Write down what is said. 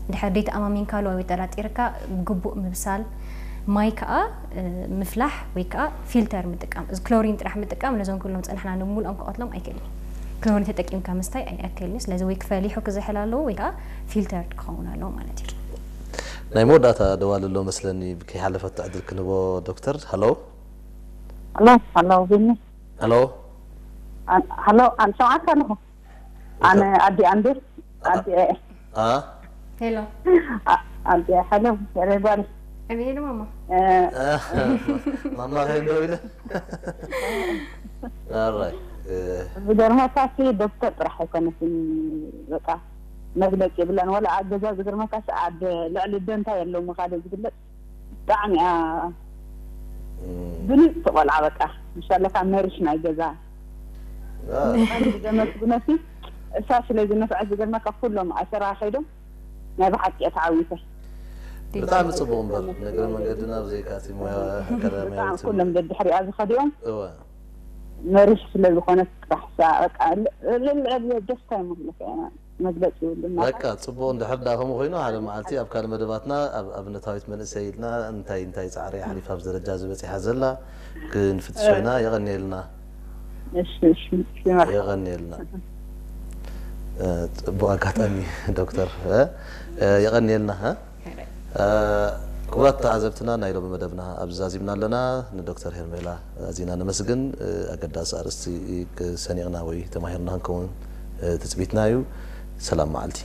እንድሕር ደይተኣማሚንካሉ ወይ ጠራጢርካ ግቡእ ምብሳል፣ ማይ ከዓ ምፍላሕ ወይ ከዓ ፊልተር ምጥቃም። እዚ ክሎሪን ጥራሕ ምጥቃም ነዞም ኩሎም ፀናሕና ንምሉኦም ክቐትሎም ኣይክእልን እዩ። ክሎሪን ተጠቂምካ ምስታይ ኣይኣክልን እዩ። ስለዚ ወይ ክፈሊሑ ክዝሕል ኣለዎ ወይ ከዓ ፊልተር ክኸውን ኣለዎ ማለት እዩ። ናይ መወዳእታ ደዋል ኣሎ መስለኒ፣ ከይሓለፈት ዕድል ክንቦ ዶክተር። ሃሎ። ሃሎ። ሃሎ። ቢኒ። ሃሎ። ሃሎ። ኣንሰማዕካ ኣለኹ። ኣነ ኣዲ ኣንድር ኣዲ ሄሎ። ኣዲ ሄሎ። ሬባል። ሄሎ ማማ። ማማ ከይንዶ ኢለ ኣራይ። ዝገርመካሲ ዶክተር ጥራሕ ኣይኮነትን፣ በቃ መግለፂ የብላን። ወላ ኣብ ገዛ ዝገርመካሲ ኣብ ልዕሊ ደንታ የለውም ካልእ ዝግለፅ። ብጣዕሚ እያ ብሉፅቲ ቆልዓ። በቃ ምሻለካ መሪሽ ናይ ገዛ። ብጣዕሚ ዘመስግነሲ እሳ ስለ ዝነፍዐት ዝገርመካ ኩሎም ኣሰራ ከይዶም ናይ ብሓቂ እያ ተዓዊተ። ብጣዕሚ ፅቡቅ እምበር፣ ንእግረ መንገድና ብዘይካ እቲ ሞያ ኣካዳሚያዊ ብጣዕሚ ኩሎም ደድሕሪኣ ዝኸዲኦም እወ መሪሽ ስለ ዝኾነት ጥራሕ እሳ በቃ ልዕሊ ደስታ ይመግለካ መግለፂ ይብሉና። በቃ ፅቡቅ። እንድሕር ዳ ከምኡ ኮይኑ ሓደ መዓልቲ ኣብ ካልእ መደባትና ኣብ ኣብነታዊት መንእሰይ ኢልና እንታይ እንታይ ፃዕሪ ኣሕሊፋ ኣብዚ ደረጃ ዝበፂሓ ዘላ ክንፍትሾ ኢና። የቐንየልና። እሺ እሺ እሺ፣ መርሓባ። የቐንየልና። እ፣ ጽቡቕ ኣጋጣሚ ዶክተር፣ እ፣ እ፣ የቐንየልና፣ እ። እ፣ ክቡራት ተዓዘብትና ናይ ሎሚ መደብና ኣብዚ ዛዚምና ኣለና። ንዶክተር ሄርሜላ ኣዚና ነመስግን። እ፣ ኣገዳሲ ኣርእስቲ ሰኒቕና ወይ ተማሂርና ክንከውን፣ እ፣ ትጽቢትና እዩ። ሰላም መዓልቲ።